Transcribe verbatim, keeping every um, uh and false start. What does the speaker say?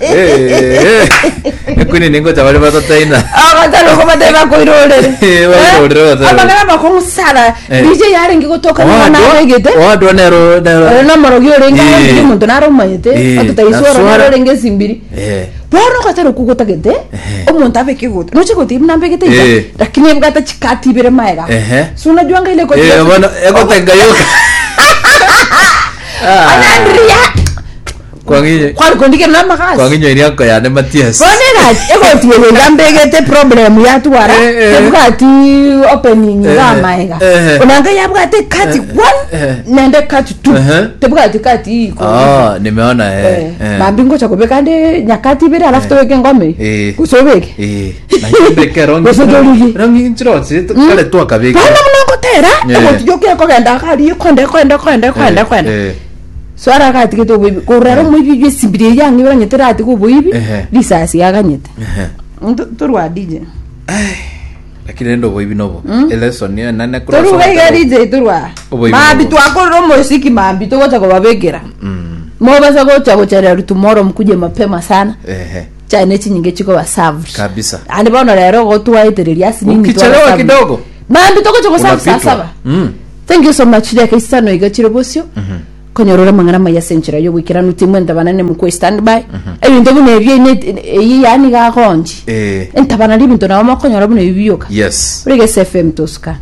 Eh, ekwini ningocha bari batataina. Agatari kobateba koirorere. Eh, bakoirorere batari. Amang'ana amakong'u sana. Eh. D J yarenge gotoka nigo nabegete. Owadwa nero nero. Ore nomorogi orenge Eh. arenge omonto nare omanyete. Eh, Ototaiso oro naswara. nare orenge esimbiri. Eh. Bono ogotera okwo gotagete, Ehe. omonto abeke egoti. Noche egoti buna mbegete iga, Eh. lakini ebwate chikati ibere maega. Ehe. So unajua nga ile koti Eh, ya- bono egotenga yoka. Ah. Anandria. Kwang'inyo Kwari kondikera namagasi. kwang'inyo iria nkoyane Matias. Bono egati egoti eye iga mbegete problem yatwara Eh, eh. tebwati opening Eh, iga amaega. eh. Onanga yabwate kati Eh, one eh. nende kati two. Eh. Tebwati kati iko. Ah, nimeona eh. Eh, eh. mambi ngocha kobeka nde nyakati ibere alafu tobeke ngome. Eh. Gose obeke. Eh, naye rongi. Gose torigi. Rongi nchirotsi kare twakabeka. Bono buna ngotera Eh. egoti yoka ekogenda kari ekonda ekonda ekonda ekonda ekonda. Eh. So aragatigete oboibi korora omoibi bwe esimbiri eye yang'e oranyete ratiga oboibi Ehe. risasi yaganyete Ehe. Ntu- torwa D J. Lakini rende oboibi nobo. Eleson niyo nane Toruga iga D J, torwa. Oboibi Mambi nobo. twakorera omosiki, mambi togocha kobabekera. Mm. Mobasa gocha gocherera tomorrow, mkuje mapema sana. Ehe. Chai ne chinyinge chikoba served. Kabisa. Andi bono rero gotwaetereria asinini. Ukichelewa kidogo Mambi togocha goserve saa unapitwa. saba. Mm. Thank you so much. Dakika isano iga chire bosio konyorora mang'ana maya ase enchera yogoikeranu timwe ntabanane mukwe standby ebinto buna ebio ine- eyi yani gagonji Eh. entabana ribinto nabo mokonyora buna ebi bioka. Yes. Ore Gesa F M tosuka.